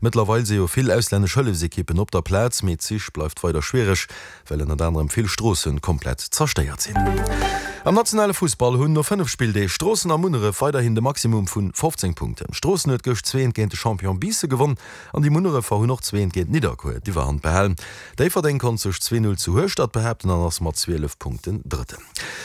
Mëttlerweil si jo vill auslännesch Hëllefsekippen op der Plaz, mee d'Sich bleift weider schwiereg, well ënnert anerem vill Stroosse komplett zerstéiert sinn. Am nationale Fussball hunn no 5 Spilldeeg Stroossen a Munneref weiderhin de Maximum vu 15 Punkten. Stroossen huet gëscht zweent géint de Champion Biissen gewonn an déi Munnerefer hunn och zweent géint Nidderkuer d'Iwwerhand behalen. Déifferdeng konnt sech 2, 0 zu Hueschtert behaapten an ass mat 12 Punkten Drëtten.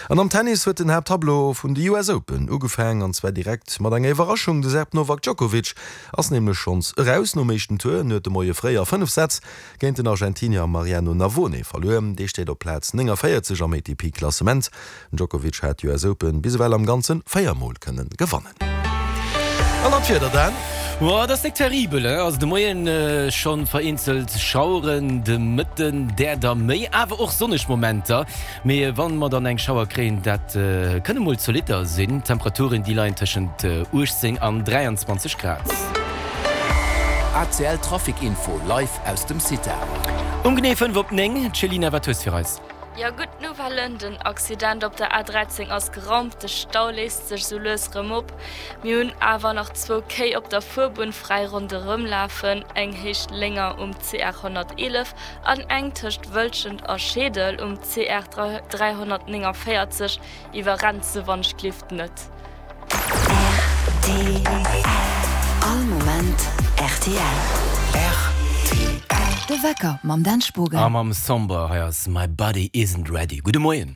An am Tennis huet den Haapttableau vun de US Open ugefaang an zwar direkt mat enger Iwwerraschung, De Serb Novak Djokovic ass nämlech schonns eraus nom éischten Tour. En huet de Moie fréi a 5 Sätz géint den Argentinier Mariano Navone verluer. Dee steet op Plaz 49 am ATP-Klassement. Den Djokovic hat d'US Open bis ewell am Ganze 4 Mol kënne gewannen. An dann d'Wieder, Dan. Boah, dat ass nik terribel, he? Also de Moien schonn vereenzelt Schaueren, de Mëtten där der méi, awer och sonneg Momenter. Mee wann mer dann eng Schauer kréien, dat kënne mol zolitter sinn. D'Temperaturen déi leien tëschent 18 an 23 Grad. ACL Trafic Info live aus dem CITA. Um genee 5 op 9, Céline, wat hues fir eis? Jo, gutt Nouvellen, den Accident op der A13 ass geraumt, de Stau léist sech sou lues rëm op. Mir hunn awer nach zwou Kéi op der Fuerbunn fräi ronderëm lafen, eng Héicht Lénger um CR 111 an eng tëscht Wëlschent a Scheedel um CR 349. Iwwerrennt se wann ech glift net. Rtl All Moment rtl. Rtl. De Wecker mam Dan Spogen. A mam Somber, hei ass My Body Isn't Ready. Gudde Moien.